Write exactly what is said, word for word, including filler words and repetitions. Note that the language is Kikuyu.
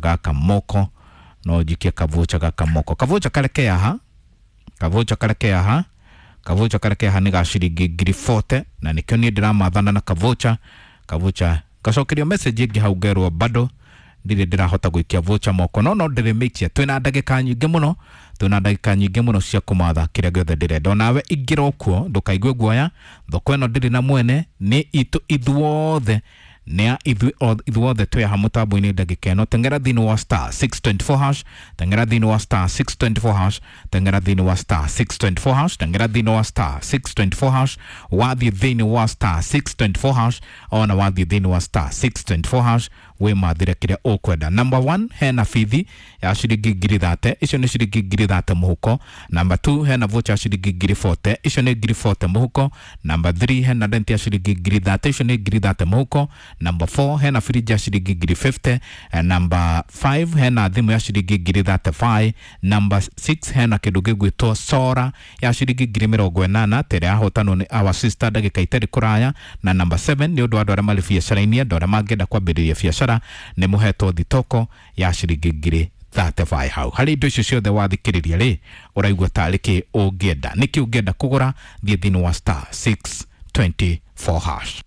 gaka moko, no njikie kavocha gaka moko. Kavocha kareke aha, kavocha kareke aha, kavocha kareke aha nĩ ga ciringi ngiri forty, na nĩkĩo niĩ ndĩramathana na kavocha. Kavocha ngacokerio message ĩngĩ hau ngerwo bado ndirĩ ndĩrahota gũikia vocha moko, no no ndĩrĩmĩikia. Twĩna ndagĩka nyingĩ mũno, twĩna ndagĩka nyingĩ mũno cia kũmatha kĩrĩa gĩothe ndĩrenda. Onawe ingĩra okuo, ndũkaigue guoya, thoko ĩno ndĩrĩ na mwene, nĩ itũ ithuothe, nĩ ya ithuĩ ithuothe twĩ haha mũtambo-inĩ ndagĩka ĩno. Teng'era thĩinĩ wa star six twenty four hash, teng'era thĩinĩ wa star six twenty four hash, teng'era thĩinĩ wa star six twenty four hash, teng'era thĩinĩ wa star six twenty four hash. Wathiĩ thĩinĩ wa star six twenty four hash, ona wathiĩ thĩinĩ wa star six twenty four hash wĩmathĩre kĩrĩa ũkwenda. Number one hena bithi ya ciringi ngiri thate, icio nĩ ciringi ngiri thate mũhuko. Number two hena voucher ya ciringi ngiri forty, icio nĩ ngiri forty mũhuko. Number three hena rent ya ciringi ngiri thate, icio nĩ ngiri thate mũhuko. Number four hena fridge ya ciringi ngiri fifty. Number five hena thimũ ya ciringi ngiri thirty five. Number six hena kĩndũ gĩgwĩtwo sora ya ciringi ngiri mĩrongo ĩnana, ta ĩrĩa yahotanwo nĩ our sister ndagĩka itarĩ kũraya. Na number seven nĩ ũndũ wa andũ arĩa marĩ biacara-inĩ, andũ arĩa mangĩenda kwambĩrĩria biacara, nĩ mũhetwo thitoko ya ciringi ngiri thirty five hau. Harĩ indo icio ciothe wathikĩrĩria rĩ, ũraigua tarĩ kĩ ũngĩenda, nĩkĩ ũngĩenda kũgũra, thiĩ thĩinĩ wa star six twenty four hash.